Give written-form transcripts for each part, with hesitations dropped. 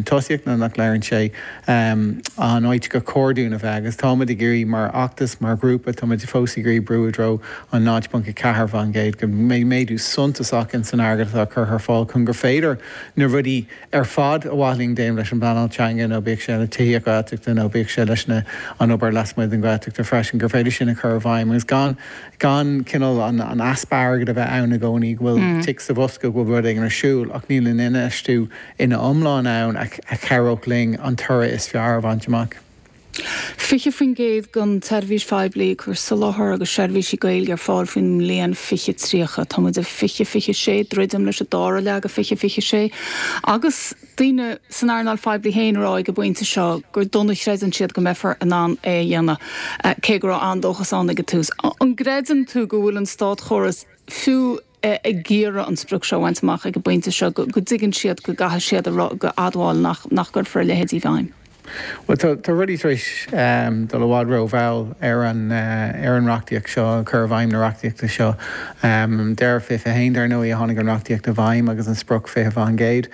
Tosaíocht nó nach léiríonn sé an áit gur chóir dúinn a bheith agus táimid ag iarraidh mar fheachtas, mar ghrúpa, táimid fós ag iarraidh brú i dtreo an 0.4%, go mbeidh méadú suntasach in san airgead atá curtha ar fáil chun gur féidir na rudaí ar fad ar mhaith linn déanamh leis an bpleanáil teanga nó bíodh sé le tithíocht Ghaeltachta nó bíodh sé leis na an obair lasmuigh den Ghaeltachta freisin, gur féidir sin a chur i bhfeidhm agus gan gan cineál an easpa airgid a bheith ann i gcónaí, go bhfuil tic sa bhosca go bhfuil rud éigin ar siúl ach níl an infheistiú ina iomlán ann a chabhródh linn an toradh is fearr a bhaint amach. 20% den tseirbhís phoiblí ag cur soláthar agus seirbhísí Gaeilge ar fáil faoin mbliain 2030. Tá muid i 2026, druidim leis an dara leath de 2026, agus daoine san earnáil phoiblí féin ag rá ag an bpointe seo gur dona a chreideann siad go mbeifear in ann é a dhéanamh, cé go raibh an-dóchas ann ag an tús. An gcreideann tú go bhfuil an státchóras, fiú ag iarraidh an sprioc seo a bhaint amach ag an bpointe seo, go dtuigeann siad go gcaithfidh siad a admháil nach gcuirfear a leithéid i bhfeidhm. Bhuel, tá rudaí tar éis dul i bhfad rómhall ar an ar an reachtaíocht seo, cur i bhfeidhm na reachtaíochta seo. Deireadh 21, dar ndóigh, a tháinig an reachtaíocht i bhfeidhm agus an sprioc 20%.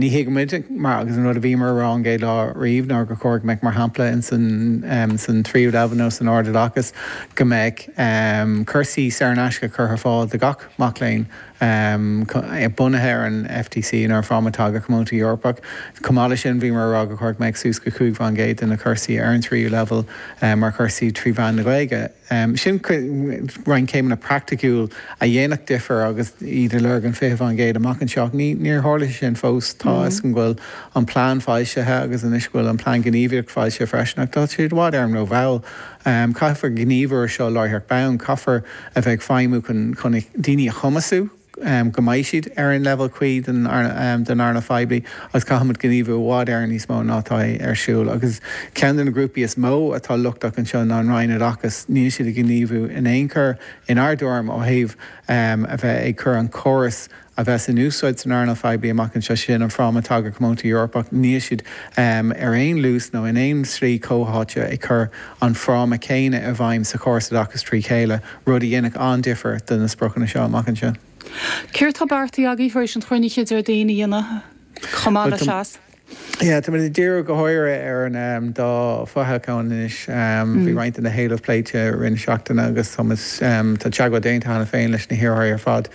Ní thuigimid, mar agus an rud a bhíomar a rá ón gcéad lá riamh ná gur chóir go mbeadh, mar shampla, in san tríú leibhéal nó san ardoideachas, go mbeadh cúrsaí saor in aisce curtha ar fáil do gach mac léinn bunaithe ar an FTC nó ar an Fráma Teanga Comónta Eorpach. Chomh maith leis sin, bhíomar a rá gur chóir go mbeadh suas go 5% de na cúrsaí ar an tríú leibhéal mar chúrsaí trí mheán na Gaeilge. Sin roinnt céimeanna praiticiúil a dhéanfadh difear agus iad ag lorg an 20% amach anseo. Ach níor tharla sé sin fós. Tá a fhios agam go bhfuil an plean foilsithe agus anois go bhfuil an plean gníomhaíochta foilsithe freisin ach tá siad i bhfad Éireann rómhall. Caithfear gníomhú ar seo láithreach bonn. Caithfear a bheith ag feidhmiú chun daoine a chumasú go mbeidh siad ar an leibhéal cuí den earnáil phoiblí agus caithfimid gníomhú i bhfad Éireann níos mó ná atá ar siúl. Agus ceann de na grúpaí is mó atá lochtach anseo ná an Roinn Oideachais. Níl siad ag gníomhú in aon chor, inár dtuairim, ó thaobh a bheith ag cur an córas a bheas in úsáid san earnáil phoiblí amach anseo, sin an Fráma Teanga Comónta Eorpach. Níl siad ar aon luas nó in aon slí comhtháite ag cur an fráma céanna i bhfeidhm sa chóras oideachais trí chéile, rud a dhéanfadh an-difear do na spriocanna seo amach anseo. Céard tá beartaithe agaibh tar éis an chruinnithe Déardaoin a dhéanamh chomh maith le Seas? Yeah, tá muid ag díriú go háirithe ar an dá fhothoghchán anois. Bhí roinnt de na héilimh pléite i rith na seachtaine agus tá muid, tá teagmháil déanta cheana féin leis na hiarrthóirí ar fad.